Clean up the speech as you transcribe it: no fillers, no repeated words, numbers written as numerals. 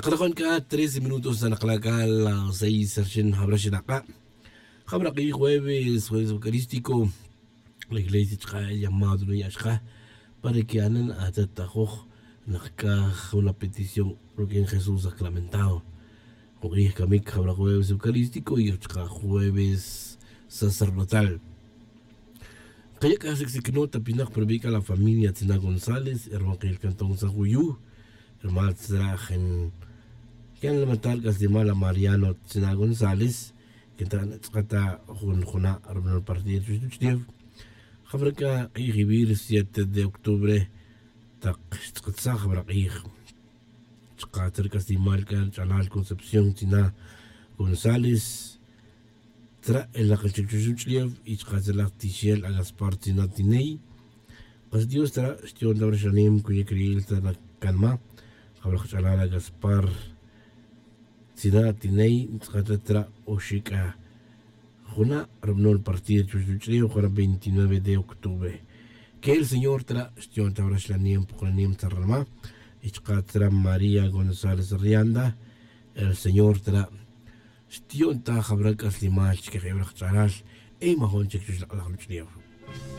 Taqrajon ka 13 minutos a las 6 jueves, jueves eucarístico, la iglesia el llamado para que anan atatajoj una petición porque en Jesús sacramentado. Jueves eucarístico y jueves sacerdotal. Kaya la familia Tina González, hermano el cantón San Juyu, hermano Yan lamatal kaslimala Mariano Tina González, que ta jun juna hermano partido chuchniev. Jabraka q'ij 7 de octubre taq xtz'qetzaj jabra q'ij. Chqater kaslimal kan ch'alal Concepción Tina González tra el aqalchik y chqatzalaj Tixiel a Gaspar Tina Tinei. Qas Dios tra xtion dabra shanim kuya kriil tra kanma. Jabra ch'alal a Gaspar Tina Tinei tra oshika Juna el partido chuchuchleo 29 de octubre. Que el Señor tra xtion tabra shlanim puklanim tarrama. Ichqatra María González Rianda. El Señor tra xtion ta jabrak aslimal chike jebrak charal. E mahon chik chuchlaqlaq.